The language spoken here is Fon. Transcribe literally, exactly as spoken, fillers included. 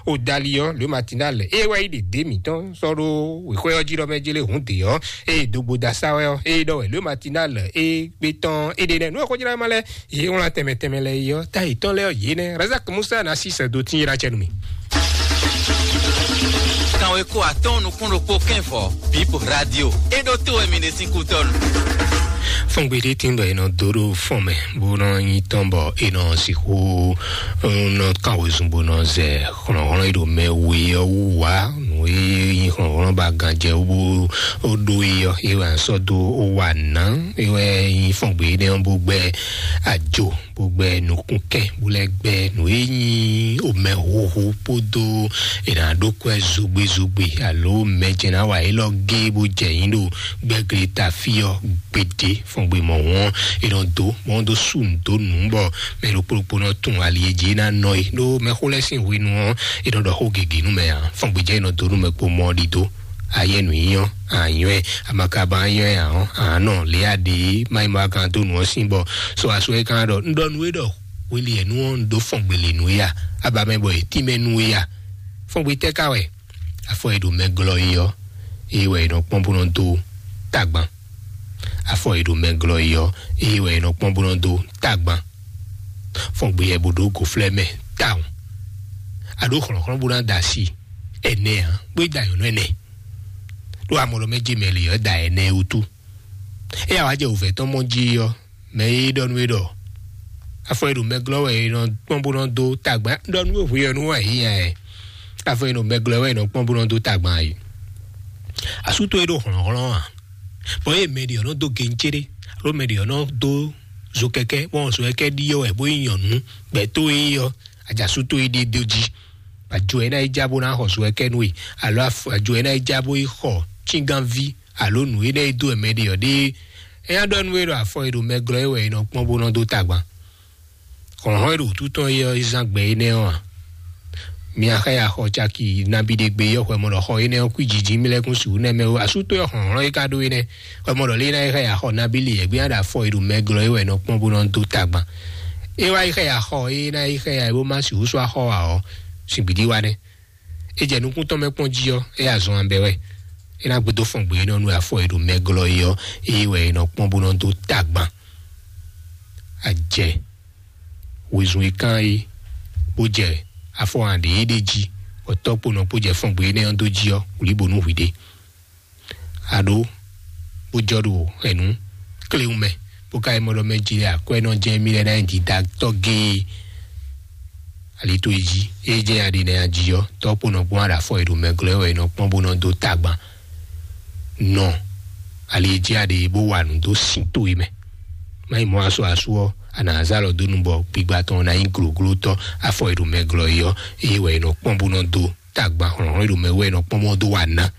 kpo dali ɔ́, le matinal eye wɛ yi ɖe dé mǐtɔn sɔ́ ɖó wěxwé ɔ́ jí ɖɔ mɛ jélé hǔn dě ɔ́, eye dogbo da sa wɛ ɔ́, eye ɖɔ wɛ le matinal eye gbé tɔn é ɖe nɛ nú ɔ́ xójlá ma lɛ ye wlán tɛmɛ tɛmɛ lɛ yi ɔ́, ta yětɔn lɛ ɔ́ yě nɛ Razak Musa na sí sɛ do tín yé ɖa cɛ nú mi. Kanwe ko atɔn nukún ɖokpó kɛnvɔ Bip Radio. E ɖo to wɛ mi ɖe sín kútɔnu. Fɔngbe ɖé tín bɔ è nɔ dó ɖó fɔn mɛ bó nɔ nyi tɔn bɔ è nɔ sixú nɔ kán wezun bó nɔ zɛ hlɔ̌nhlɔ́n e ɖo mɛ we ɔ́ wú wá. Nǔ e nyí hlɔ̌nhlɔ́n ba ganjɛ wú bó ɖó e ɔ́, é wɛ sɔ́ dó ó wa nǎ. É wɛ nyí fɔngbe énɛ́ ɔ́ bó gbɛ́ ajo bó gbɛ́ nukúnkɛn bó lɛ́ gbɛ́ nǔ e nyí omɛhuhu kpódó è nǎ ɖó kwɛ́ zogbezogbe alo mɛjɛ ná wa élɔ́ gé bó jɛ yín ɖo gbɛ́gle ta fí ɔ́ gbeɖé. Fɔngbe mɔ̌hun ɔ́, è nɔ dó mɔ ɔ́ dó sú nǔ dó nǔ bɔ mɛ ɖokpó ɖokpó nɔ tunwun ali e jí é ná nɔ é. Ɖó mɛxó lɛ́ɛ sín hwenu ɔ́, è nɔ ɖɔ xó gěgé nú mɛ ǎ. Fɔngbe jɛ è nɔ dó nú mɛ kpo mɔ ɔ́ ɖidó. Ayɛ nǔ nyí ɔ́, anyɔ́ ɛ, amakaba nyɔ́ ɛ ǎ ɔ́, ǎ nɔ lě a ɖě má nyí ma gán dó nǔ ɔ́ sín bɔ sɔ aso ɛ gán ɖɔ un ɖɔ nú é ɖɔ hweli ɛ nú ɔ́ un ɖó fɔngbe lě nú é a? Aba mɛ bɔ è tínmɛ nú é a? Fɔngbe tɛ́ ka wɛ? Afɔ e ɖo mɛ glɔ́ é ɔ́, é wɛ è nɔ kpɔ́n bó nɔ dó tagban. Afɔ e ɖo mɛ glɔ́ é ɔ́, é wɛ è nɔ kpɔ́n bó nɔ dó tagban. Fɔngbe yɛ bó ɖó gǒflɛ́ mɛ tawun. A ɖó hlɔ̌nhlɔ́n bó ná da asi ɛnɛ ǎ, bó yi da nyɔ̌nu ɛnɛ. Ɖó amɔ ɖɔ mɛ jɛ mɛ lě ɔ́ da ɛnɛ wútu. Éyá wá jɛ wǔvɛ́ tɔn mɔ jí ɔ́, mɛ e ɖɔ nú é ɖɔ afɔ e ɖo mɛ glɔ́ wɛ è nɔ kpɔ́n bó nɔ dó tagban ɖɔ nú hwe ɔ́ nú wɛ yí nya ɛ. Afɔ e ɖo mɛ glɔ́ wɛ è nɔ kpɔ́n bó nɔ dó tagban yi. Asú towe ɖo hlɔ̌nhlɔ́n a? Bɔ eye mɛ ɖě ɔ́ nɔ dó gencéɖé alo mɛ ɖě ɔ́ nɔ dó zokɛkɛ́ bɔ zokɛkɛ́ ɖíe wɛ bó yi nyɔ̌nu gbɛtó e ɔ́, ajasú towe ɖíe dó jí. Ajo ɛ ná yi já bó ná xɔ zokɛkɛ́ nú we alo ajo ɛ ná yi já bó yi xɔ cíngánví alo nǔ énɛ́ e dó wɛ mɛ ɖe ɔ́ ɖe. É ná ɖɔ nú we ɖɔ afɔ e ɖo mɛ glɔ́ é wɛ è nɔ kpɔ́n bó nɔ dó tagban. Hlɔ̌nhlɔ́n e ɖo wútu tɔn é ɔ́, é zán gbɛ énɛ́ ɔ́ ǎ. Mi axá ya xɔ caki nabí ɖé gbe yɔ́ hwɛ mɔ ɖɔ xɔ énɛ́ ɔ́ kwí jiji mí lɛ́ kún sixú nɛ́ mɛ ó. Asú tó yɔ hlɔ̌nhlɔ́n é ka ɖó énɛ́ hwɛ mɔ ɖɔ lé ná yi xá ya xɔ nabí li yɛ̌gbé ná ɖo afɔ e ɖo mɛ glɔ́ é wɛ è nɔ kpɔ́n bó nɔ dó tagban. É wá yi xá ya xɔ é ná yi xá ya é bó má sixú sɔ́ axɔ ǎ ɔ́, sìngbídí wa nɛ́. É jɛ nukún tɔn mɛ kpɔ́n jí ɔ́, é azɔn abɛ wɛ. É ná gbedó fɔn gbě nɔ nú afɔ e ɖo mɛ glɔ́ é ɔ́, é wɛ è nɔ kpɔ́n bó nɔ dó tagban. Ajɛ wezun e kán é bó jɛ afɔ aɖě é ɖé jí, bɔ tɔ́ kpo nɔ kpó jɛ fɔn gbě énɛ́ ɔ́ dó jí ɔ́, wlǐ bó nú hwǐ ɖé. Aɖó bó jɔ ɖo hɛ̌nnu kléwún mɛ bó ka yi mɔ ɖɔ mɛ jí lɛ akwɛ́ nɔ jɛ mí lɛ ná nyi dida tɔ́ géé. Ali tó yi jí é jẹ́ aɖi nɛ ají ɔ́, tɔ́ kpo nɔ gbɔn aɖa afɔ e ɖo mɛ glɔ́ wɛ è nɔ kpɔ́n bó nɔ dó tagban. Nɔ ali e jí aɖe bó wa nǔ dó sin tó e mɛ. Má yi mɔ aso asu ɔ́, a nǎ zá lɔ dó nu bɔ gbigba tɔn ná nyí gloglótɔ́ afɔ e ɖo mɛ glɔ́ é ɔ́, é wɛ è nɔ kpɔ́n bó nɔ dó tagban hlɔ̌nhlɔ́n e ɖo mɛ wɛ è nɔ kpɔ́n bó nɔ dó wa ná.